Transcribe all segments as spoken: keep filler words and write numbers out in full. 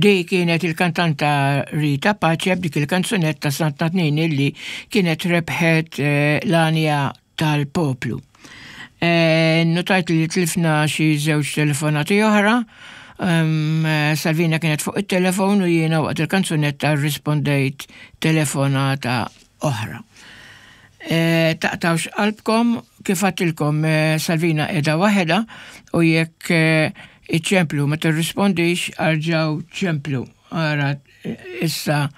Di kienet il-kantanta Rita Pace b'dik il-kanzunetta Santa Tnin illi kienet rebħet eh, l-għanja tal-poplu. Eh, notajt li tlifna xi żewġ telefonati oħra. Um, Salvina kienet fuq il-telefon u jiena waqt il-kanzunetta rispondejt telefonata oħra. E, taqtawx qalbkom kif għedtilkom e, Salvina qiegħda waħedha u jekk e, iċċemplu ma tirrispondix erġgħu ċemplu. Ara issa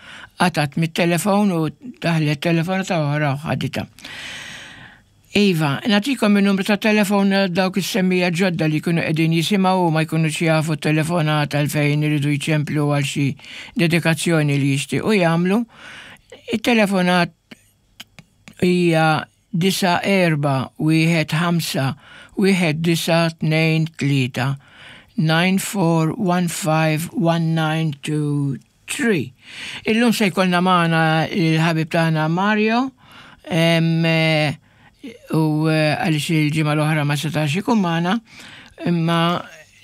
qatat mit-telefon u daħlet telefonata oħra u ħaditha. Iva, nagħtikom il-numru ta' telefon dawk is-semmiegħa ġodda li jkunu qegħdin jisimgħu u ma jkunux jafu telefonata fejn iridu jċemplu għal xi dedikazzjoni li jixtiequ jagħmlu. Il-telefonat hija disa erba wieħed ħamsa wieħed disa tnejn tlieta nine four one five one nine two three. Illum se jkollna magħna il-ħabib tagħna Mario em, eh, u eh, għaliex il-ġimgħa l-oħra ma setax ikun magħna, imma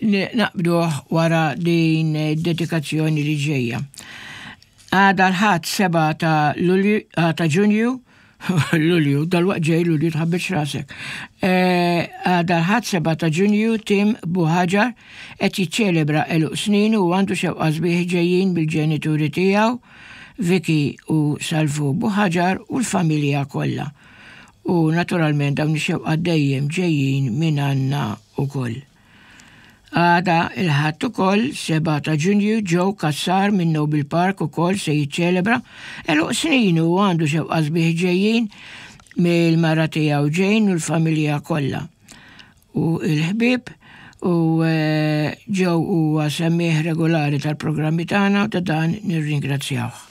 naqbduh wara din dedikazzjoni li ġejja. Għada l-Ħadd seba ta' Lulju, ah, ta' Ġunju, Lulju, dal-waqt ġej Lulju tħabbilx rasek. Eh, Għada l-Ħadd seba ta' Ġunju Tim Buħaġar qed jiċċelebra għeluq snin u għandu xewqa sbieħ ġejjin bil-ġenituri tiegħu, Vicky u Salvu Buħaġar u l-familja kollha. U naturalment dawn ix-xewqa dejjem ġejjin minn għandna ukoll. Għada il-Ħadd ukoll seba ta' Ġunju Joe Kassar minn Noble Park ukoll se jiċċelebra għeluq snin u għandu xewqa sbieħ ġejjin mill-mara tiegħu Jane u l-familja kollha. U l-ħbieb u eh, Joe huwa semmiegħ regolari tal-programmi tagħna u ta' dan nirringrazzjawh.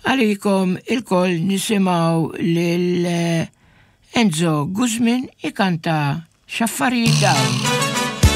Għalikom ilkoll nisimgħu lil eh, Enzo Guzmin ikanta X'affarijiet dawn.